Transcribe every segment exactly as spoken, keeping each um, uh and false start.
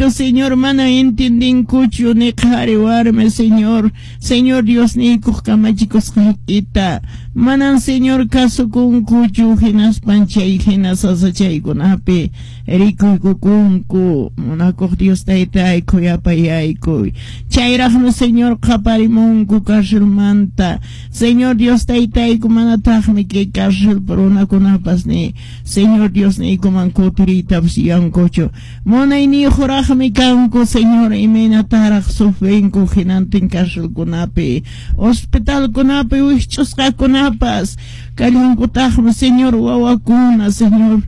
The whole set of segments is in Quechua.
Papacito, Señor, mana entendinkuchu ni qhari warmi, Señor. Señor Diosniykuq kamachikusqaykita manan, Señor, kasukunkuchu, hinaspan chay hina sasachaykunapi rikuykukunku. Munakuq Dios Taytay, khuyapayaykuy. Chayraqmi, Señor, qaparimunku carcelmanta. Señor Dios Taytayku, manataqmi kay cárcel runakunapas ni Señor Dios niykuman kutiriytapas yuyankuchu. Munayniyuqraqmi kanku, Señor, imaynataraq sufrinku hinantin carcelkunapi, hospitalkunapi wikch'usqakunapas kallankutaqmi, Señor, wawakuna, Señor,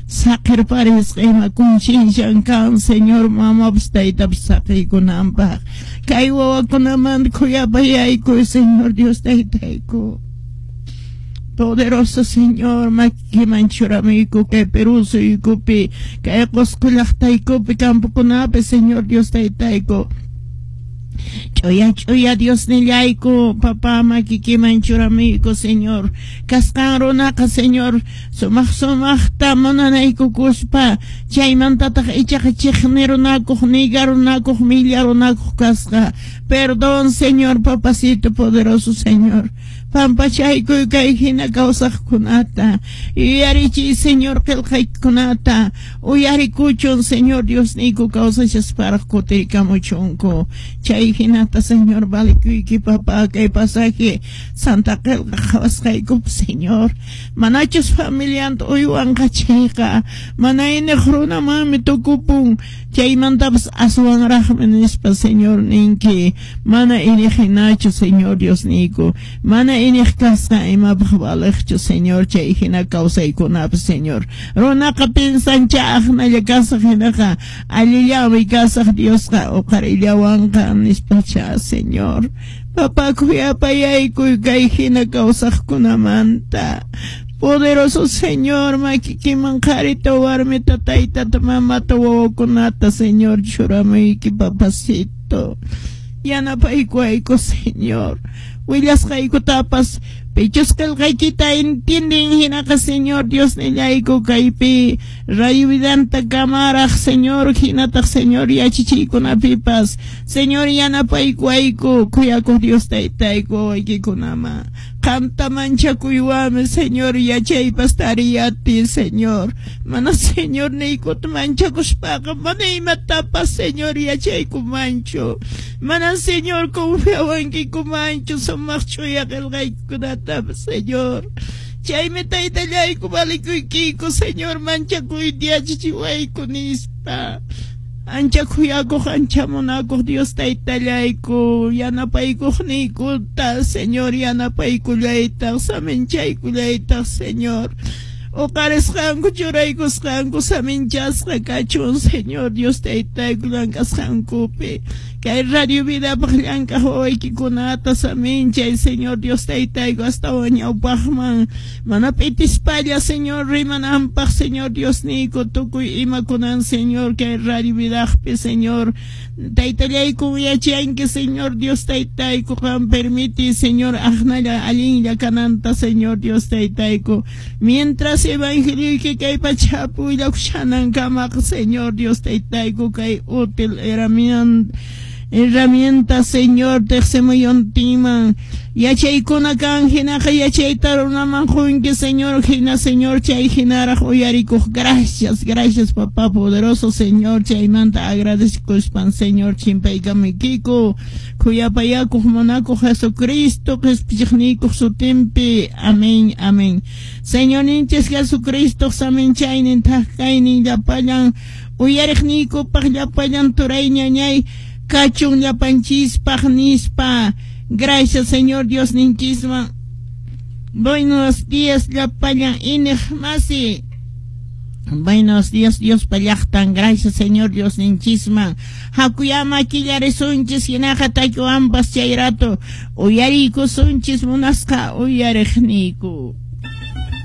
saqirparisqa. Ima conciencian kan, Señor, mamapas taytapas saqiykunanpaq? Kay wawakunamanta khuyapayaykuy, Señor Dios Taytayku. Poderoso Señor, makiman churamuyku kay Perú suyukupi, kay Qusqu llaqtaykupi, campokunapi, Señor Dios Taytayku. Ch'uya ch'uya Dios nillayku, papá, makikiman churamuyku, Señor. Kasqan runaqa, Señor, sumaq sumaqta munanaykukuspa, chaymantataq ichaqa chiqnirunakuq, nigarunakuq, millarunakuq kasqa. Perdón, Señor, papacito poderoso, Señor. Pampachaykuy kay hina kawsaqkunata. Yuyarichiy, Señor, qillqaykunata. Uyarikuchun, Señor Dios niyku, kawsashasparaq kutirikamuchunku. Chay hinata, Señor, valikuyki, papá, kay pasaje Santa qillqa qhawasqaykup, Señor. Manachus familianta uywanqa chayqa, mana iniq runamanmi tukupun. Chaymantapas aswanraqmi nispa, Señor, ninki. Mana iniq hinachu, Señor Dios niyku. Mana iniq kasqa imapaq valiqchu, Señor, chay hina kawsaykunapas, Señor. Runaqa pinsancha aqnalla kasaq hinaqa allillanmi kasaq, Diosqa uqarillawanqa nispacha, Señor. Papá, khuyapayaykuy kay hina kawsaqkunamanta. Poderoso Señor, makikiman qharita, warmita, taytata, mamata, wawakunata, Señor, churamuyki, papacito. Yanapaykuwayku, Señor. Willasqaykutapas pichus qillqaykita entienden hinaqa, Señor Dios nillayku, kaypi Radio Vidanta kamaraq, Señor, hinataq, Señor, yachachiykunapipas, Señor, yanapaykuwayku, khuyakuq Dios Taytayku, wawaykikunaman. Qamta manchakuywanmi, Señor, yachaypas tariyati, Señor. Mana Señor niykuta manchakuspaqa mana imatapas, Señor, yachaykumanchu. Mana, Señor, confiawankikumanchu sumaq ch'uya qillqaykunatapas, Señor. Chaymi, Taytallayku, valikuykiku, Señor, manchakuyta yachachiwayku nispa. Ancha khuyakuq, ancha munakuq Dios Taytallayku, yanapaykuqniykuta, Señor, yanapaykullaytaq, saminchaykullaytaq, Señor. Uqarisqanku, churaykusqanku saminchasqa kachun, Señor Dios Taytayku, llank'asqankupi. Kay Radio Vidapaq llank'aq wawaykikunata saminchay, Señor Dios Taytayku, astawan ñawpaqman mana p'itispalla, Señor, rimananpaq, Señor Dios niyku, tukuy imakunan, Señor, kay Radio Vidaqpi, Señor. Taytallayku, yachanki, Señor Dios Taytayku, qam permiti, Señor, aqnalla allinlla kananta, Señor Dios Taytayku. Mientras evangelioyki kay pachapi willakushanankamaqa, Señor Dios Taytayku, kay útil herramienta herramienta, Señor, tiqsimuyuntinman yachaykuna kan hinaqa yachayta runaman qunki, Señor, hina, Señor, chay hinaraq uyarikuq. Gracias, gracias, papá poderoso, Señor. Chaymanta agradecikuspan, Señor, chimpaykamuykiku khuyapayakuq munakuq Jesucristo qhispichiqniykuq sutinpi. Amén, amén. Señorninchis Jesucristo saminchaynin, thak kaynin llapallan uyariqniykupaq, llapallan turay, ñañay, kachun llapanchispaq nispa. Gracias, Señor Dios ninchisman. Buenos días, llapallan iniq masi. Buenos días, Dios llaqtan. Gracias, Señor Dios ninchisman. Hakuyama killarisunchis hinaqa takiwanpas chay rato uyariykusunchis munasqa uyariqniyku.